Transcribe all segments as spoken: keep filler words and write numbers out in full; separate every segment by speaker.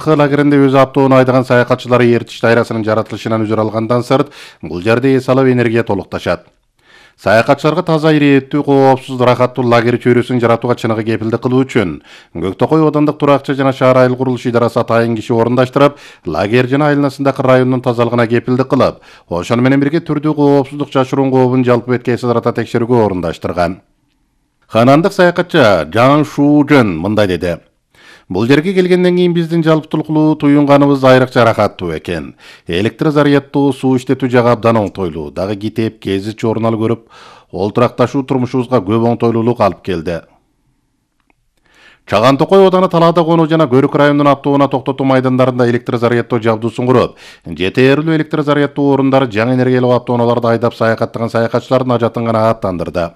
Speaker 1: лагеринде өз автоунаа айдаган саякатчылар эритиш дайрасынын жаратылышынан үзүр алгандан сырт бул жерде эс алып энергия толукташат. Саякатчыларга таза, ирээттүү, коопсуз, рахаттуу лагер чөйрөсүн жаратууга чыныгы кепилдик кылуу үчүн Көктөкөй аудандык туракчы жана шаар айыл курулуш идарасы атайын киши орундаштырып, лагер жана айланасындагы райондун тазалыгына кепилдик кылып, ошону менен бирге түрдүү коопсуздук жашыруун кообун жалпы бетке эседарата текшерүүгө орундаштырган. Ханандык саякатчы Жан Шужен мындай деди: Бул жерге келгенден кийин биздин жалптуулуктуу туюнганыбыз айрыкча рахаттуу экен. Электр заряддуу, суу иштетүү жагы абдан оңтойлуу. Дагы китеп, кезич журнал көрүп, олтуракташуу турмушубузга көп оңтойлуулук алып келди. Чаган Токой ауданы Талаада конуу жана Көрүк районунун автоунаа токтотуу майдандарында электр заряддоо жабдуусун куруп, жетээрлүү электр заряддуу орундары жаңы энергиялуу автоунааларды айдап саякаттаган саякатчылардын ажатын гана аттандырды.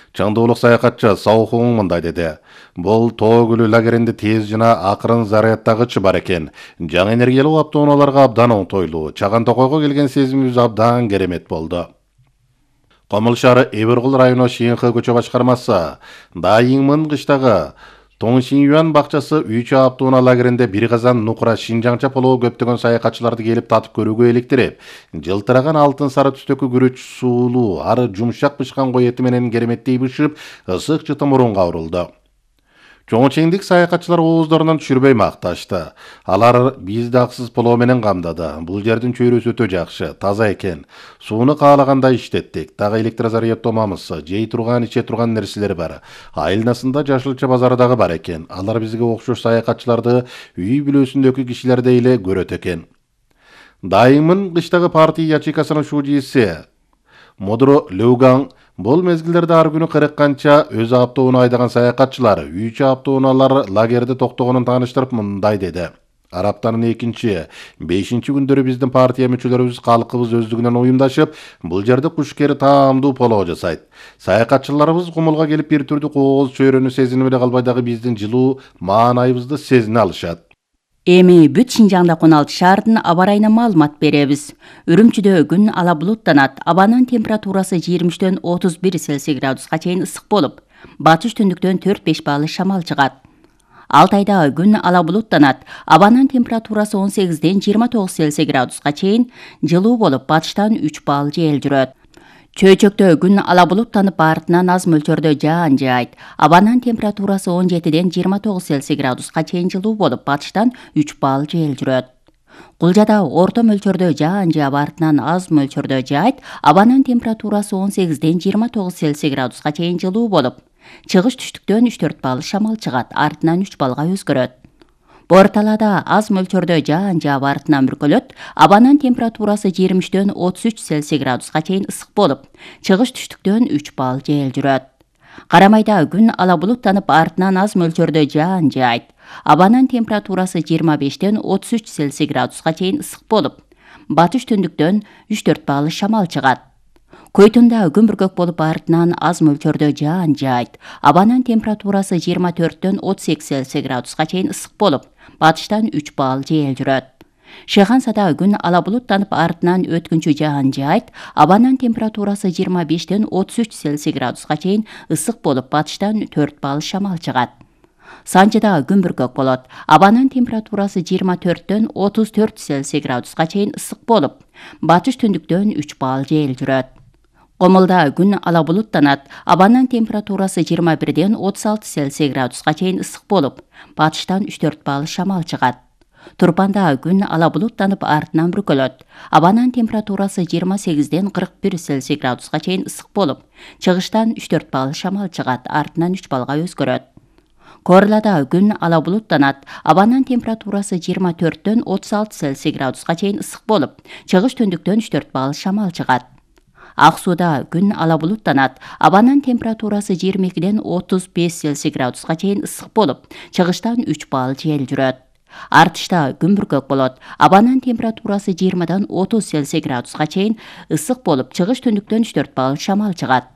Speaker 1: Чаңдуулук саякатчы Саухун мындай деди: Бул Тоо көлү лагеринде тез жана акырын заряддагычы бар экен. Жаңы энергиялуу автоунааларга абдан оңтойлуу. Чаган Токойго келген сезимибиз абдан керемет болду. Комул шаары Эбиркул району Шиңхы көчө башкармасы Дайыңмын кыштагы Тоңшиюан бакчасы үч автоунаа лагеринде бир казан нукура Шинжаңча полоо көптөгөн саякатчыларды келип татып көрүүгө электирип, жылтыраган алтын сары түстөгү күрөч суулуу, ары жумшак бышкан кой эти менен кереметтей бышып, ысык жыты мурунга урулду. Чоңчеңдик саякатчылар ооздорунан түшүрбөй макташты. Алар бизди аксыз полоо менен камдады. Бул жердин чөйрөсү өтө жакшы, таза экен. Сууну каалагандай иштеттик. Дагы электр заряддоомамызсы, жей турган, иче турган нерселер бар. Айылнасында жашылча базары дагы бар экен. Алар бизге окшош саякатчыларды үй бүлөсүндөгү кишилердей эле көрөт экен. Дайыңмын кыштагы партия ячейкасынын шужиси Модро Леуган бул мезгилдерде ар күнү кырк канча өз автоунаа айдаган саякатчылар үч автоунаалар лагерде токтогонун тааныштырып мындай деди: Араптанын экинчи, бешинчи күндөрү биздин партия мүчөлөрүбүз калкыбыз өздүгүнөн уюмдашып, бул жерде кушкери таамдуу полоо жасайт. Саякатчыларыбыз кумулга келип бир түрдүү кооз чөйрөнү сезинип эле калбай дагы биздин жылуу маанайыбызды сезине алышат.
Speaker 2: Эми бүт Шинжаңда он алты шаардын аба ырайына маалымат беребиз. Үрүмчүдө күн ала булуттанат, абанын температурасы жыйырма үчтөн отуз бир Цельсий градуска чейин ысык болуп, батыш түндүктөн төрт беш балл шамал чыгат. Алтайда күн ала булуттанат, абанын температурасы он сегизден жыйырма тогуз Цельсий градуска чейин жылуу болуп, батыштан үч балл жел жүрөт. Чөйчөктө күн ала булуттанып, артынан аз мөлчөрдө жаан жаайт. Абанын температурасы он жетиден жыйырма тогуз Цельсий градуска чейин жылуу болуп, батыштан үч балл жел жүрөт. Кулжада орто мөлчөрдө жаан жаап, артынан аз мөлчөрдө жаайт. Абанын температурасы он сегизден жыйырма тогуз Цельсий градуска чейин жылуу болуп, чыгыш түштүктөн үч төрт балл шамал чыгат, артынан үч баллга өзгөрөт. Борталада аз мөлчөрдө жаан жаап, артынан бүркөлөт. Абанын температурасы жыйырма үчтөн отуз үч Цельсий градуска чейин ысык болуп, чыгыш түштүктөн үч балл жел жүрөт. Карамайда күн ала булуттанып, артынан аз мөлчөрдө жаан жаайт. Абанын температурасы жыйырма бештен отуз үч Цельсий градуска чейин ысык болуп, батыш түндүктөн үч төрт балл шамал чыгат. Көйтүндө күн бүркөк болуп, артынан аз мөлчөрдө жаан жаайт. Абанын температурасы жыйырма төрттөн отуз эки Цельсий градуска чейин ысык болуп, батыштан үч балл жел жүрөт. Шыгансада күн ала булуттанып, артынан өткүнчү жаан жаайт. Абанын температурасы жыйырма бештен отуз үч Цельсий градуска чейин ысык болуп, батыштан төрт балл шамал чыгат. Санжыда күн бүркөк болот. Абанын температурасы жыйырма төрттөн отуз төрт Цельсий градуска чейин ысык болуп, батыш түндүктөн үч балл жел жүрөт. Комулда күн ала булуттанат, абанын температурасы жыйырма бирден отуз алты Цельсий градуска чейин ысык болуп, батыштан үч төрт балл шамал чыгат. Турпанда күн ала булуттанып, артынан бүркөлөт. Абанын температурасы жыйырма сегизден кырк бир Цельсий градуска чейин ысык болуп, чыгыштан үч төрт балл шамал чыгат, артынан үч баллга өзгөрөт. Корлада күн ала булуттанат, абанын температурасы жыйырма төрттөн отуз алты Цельсий градуска чейин ысык болуп, чыгыш түндүктөн үч төрт балл шамал чыгат. Ак сууда күн ала булуттанат, абанын температурасы жыйырма экиден отуз беш Цельсий градуска чейин ысык болуп, чыгыштан үч балл жел жүрөт. Артышта күн бүркөк болот, абанын температурасы жыйырмадан отуз Цельсий градуска чейин ысык болуп, чыгыш түндүктөн үч төрт балл шамал чыгат.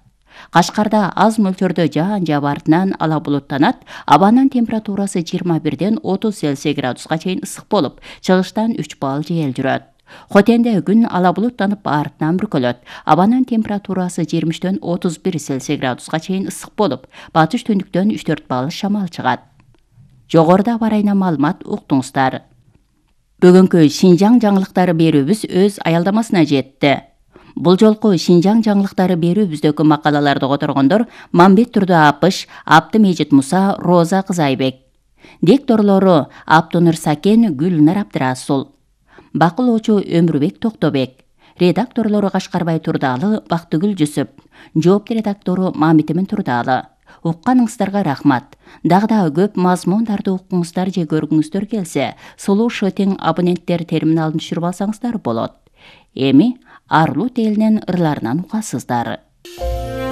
Speaker 2: Кашкарда аз мөлчөрдө жаан жаап, артынан ала булуттанат, абанын температурасы жыйырма бирден отуз Цельсий градуска чейин ысык болуп, чыгыштан үч балл жел жүрөт. Хотенде күн ала булуттанып, артынан бүркөлөт. Абанын температурасы жыйырма үчтөн отуз бир Цельсий градуска чейин ысык болуп, батыш түндүктөн үч төрт балл шамал чыгат. Жогоруда аба ырайына маалымат уктуңуздар. Бүгүнкү Шинжаң жаңылыктары берүүбүз өз аялдамасына жетти. Бул жолку Шинжаң жаңылыктары берүүбүздөгү макалаларды которгондор Мамбет Турда Апыш, Абдымежит Муса, Роза Кызайбек. Дикторлору Аптонур Сакен, Гүлнар Абдырасул. Бакылоочу Өмүрбек Токтобек. Редакторлору Кашкарбай Турдалы, Бактыгүл Жүсүп. Жоопту редактору Мамитимин Турдалы. Укканыңыздарга рахмат. Дагы да көп мазмундарды уккуңуздар же көргүңүздөр келсе, Сулуу Шотең абоненттер терминалын түшүрүп алсаңыздар болот. Эми Арлут элинин ырларынан угасыздар.